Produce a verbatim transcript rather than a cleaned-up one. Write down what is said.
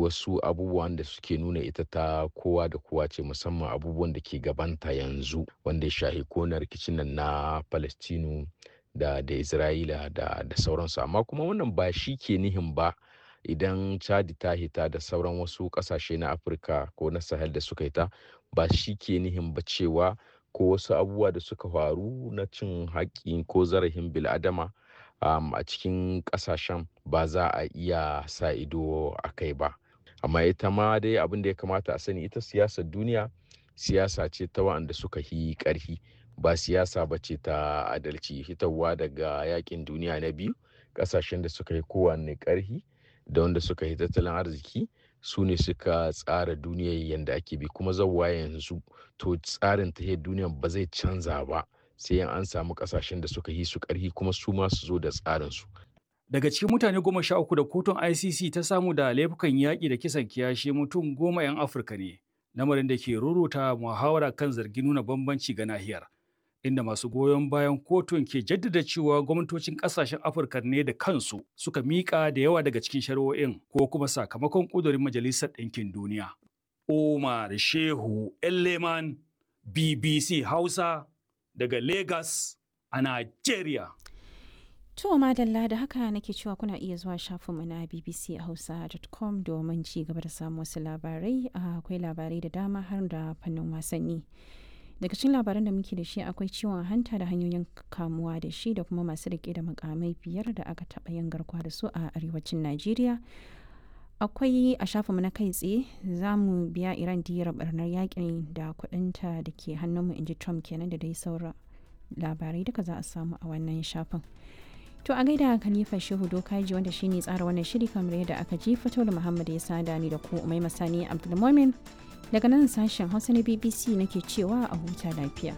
wasu abubuwan da suke nuna ita ta kowa da kowa ce, musamman abubuwan da ke gabanta yanzu wanda ya shahi ko na rikicin nan na Palestinu da da Isra'ila da da sauransu. Amma kuma wannan ba shi ke nihin ba idan Chadi ta hita da sauran wasu ƙasashe na Afirka ko na Sahel da suka hita, ba shi ke nihin ba cewa ko wasu abubuwa da suka faru na cin haƙƙi ko zarafin bil'adama um, a cikin ƙasashen ba za a iya sa ido a kai ba. Amma ita ma dai abin da ya kamata a sani, ita siyasar duniya siyasa ce ta waɗanda suka yi ƙarfi, ba siyasa ba ce ta adalci. Hitarwa daga yakin duniya na biyu, ƙasashen da suka yi kowanne ƙarfi da wanda suka yi tattalin arziki su ne suka tsara duniyar yadda ake bi, kuma zauwa yanzu to tsarin tahiyar duniyar ba zai canza ba sai an samu kasashen da suka yi su karhi kuma su ma su zo da tsarin su. Daga cikin mutane goma sha uku da kotun I C C ta samu da laifukan yaƙi da kisan kiyashi, mutum goma 'yan Afirka ne, lamarin da ke ruruta muhawara kan zargin nuna bambanci ga nahiyar, inda masu goyon bayan kotun ke jaddada cewa gwamnatocin ƙasashen Afirka ne da kansu suka miƙa da yawa daga cikin shari'o'in ko kuma sakamakon ƙudurin Majalisar Ɗinkin Duniya. Umar Shehu Elleman, B B C Hausa, daga Lagos a Nigeria. To madalla, da haka nake cewa kuna iya zuwa shafinmu na B B C hausa dot com domin ci gaba da samun wasu labarai. Akwai labarai da dama har da fannin wasanni. Daga cikin labaran da muke da shi akwai ciwon hanta da hanyoyin kamuwa da shi, da kuma masu rike da mukamai biyar da aka taɓa yin garkuwa da su a arewacin Najeriya. Akwai a shafinmu na kai tsaye, za mu biya Iran diyar barnar yakin da kudinta da ke hannunmu, inji Trump kenan, da dai sauran labarai duka za a samu a wannan shafin. To a gaida Khalifa Shehu Dokaji wanda shine tsara wannan shiri kamar yadda aka ji, Fatolu Muhammad ya sada ni da ku, Umai Masani Abdulmumin. Daga nan sashen Hausa na B B C nake cewa a huta lafiya.